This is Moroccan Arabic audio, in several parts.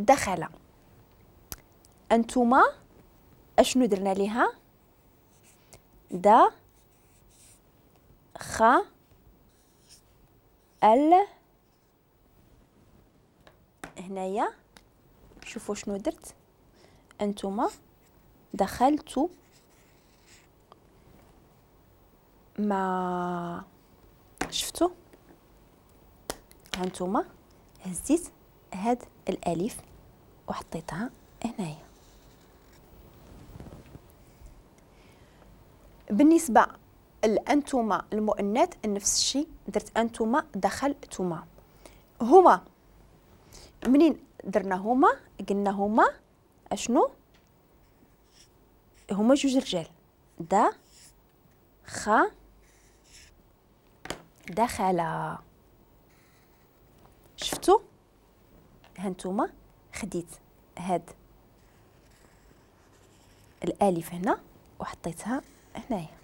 دخل. انتما اشنو درنا ليها؟ دا خ ال. هنايا شوفوا شنو درت، انتما دخلت ما شفتوا، هانتوما هزيت هاد الالف وحطيتها هنايا. بالنسبة لانتما المؤنث نفس الشيء، درت انتما دخلتما. هما منين درنا هما؟ قلنا هما اشنو؟ هما جوج رجال، دا خ دخل. شفتوا؟ هانتوما خديت هاد الالف هنا وحطيتها هنايا.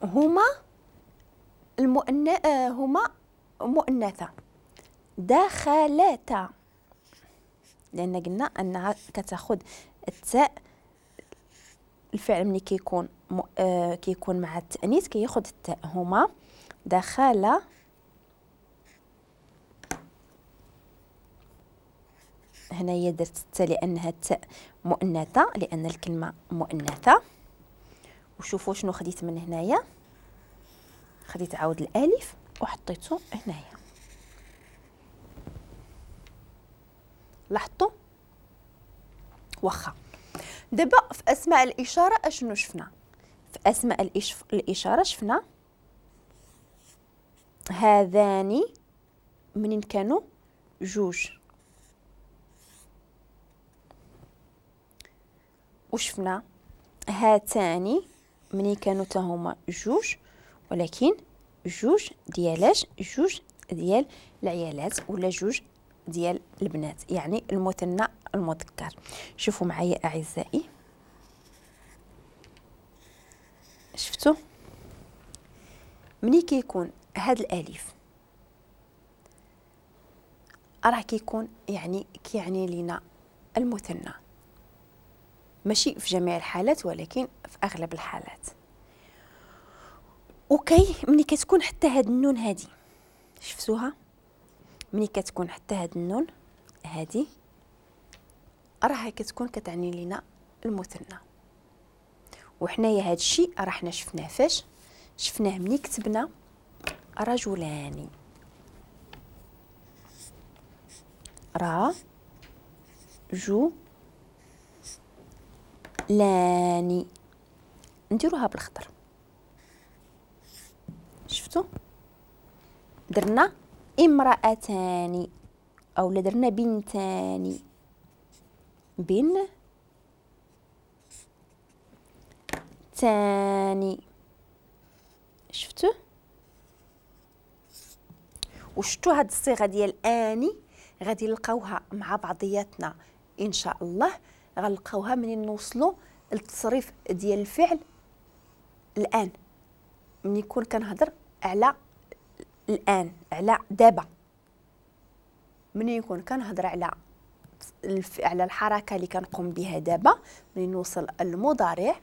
هما المؤنث، هما مؤنثة، دخلتا، لان قلنا انها كتاخذ التاء. الفعل ملي كيكون كيكون مع التانيث كياخذ التاء. هما دخل هنايا درت التاء لانها التاء مؤنثة، لان الكلمة مؤنثة. وشوفوا شنو خديت من هنايا، خديت عاود الالف وحطيته هنايا. لاحظتوا؟ واخا دابا في اسماء الاشارة اشنو شفنا؟ في اسماء الاشارة شفنا هذان منين كانوا جوج، وشفنا هاتان منين كانوا تا هما جوج، ولكن جوج ديالاش؟ جوج ديال العيالات ولا جوج ديال البنات، يعني المثنى المذكر. شوفوا معايا اعزائي، شفتوا مني كيكون هاد الالف راه كيكون يعني كيعني لينا المثنى، ماشي في جميع الحالات ولكن في اغلب الحالات. وكي ملي كتكون حتى هاد النون هادي، شفتوها؟ ملي كتكون حتى هاد النون هادي راها كتكون كتعني لينا المثنى. وحنايا هاد الشيء راه حنا شفناه فاش؟ شفناه ملي كتبنا رجلان، را جو لاني، نديروها بالخضر. شفتوا؟ درنا امرأتان او درنا بنتان، بن تاني. شفتوا؟ وشفتوا هاد الصيغة ديال اني غادي نلقاوها مع بعضياتنا ان شاء الله، غنلقاوها منين نوصلوا للتصريف ديال الفعل الان، ملي يكون كنهضر على الان، على دابا، ملي يكون كنهضر على الحركة اللي كنقوم بها دابا، ملي نوصل المضارع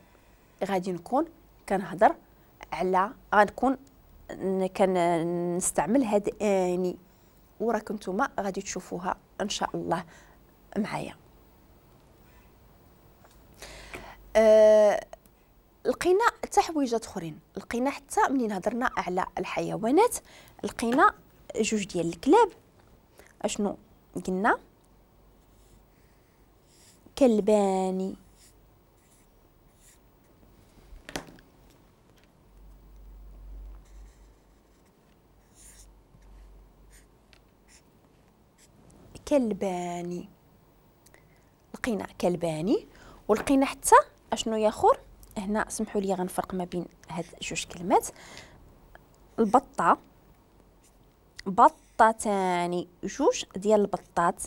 غادي نكون كنهضر على، غنكون كنستعمل هاد اني، وراكم نتوما غادي تشوفوها ان شاء الله معايا. لقينا حتى حويجات اخرين، لقينا حتى منين هضرنا على الحيوانات لقينا جوج ديال الكلاب. اشنو قلنا؟ كلبان، كلباني، لقينا كلباني. ولقينا حتى اشنو ياخر هنا، سمحوا لي غنفرق ما بين هاد جوج كلمات، البطة، بطتان، جوج ديال البطات.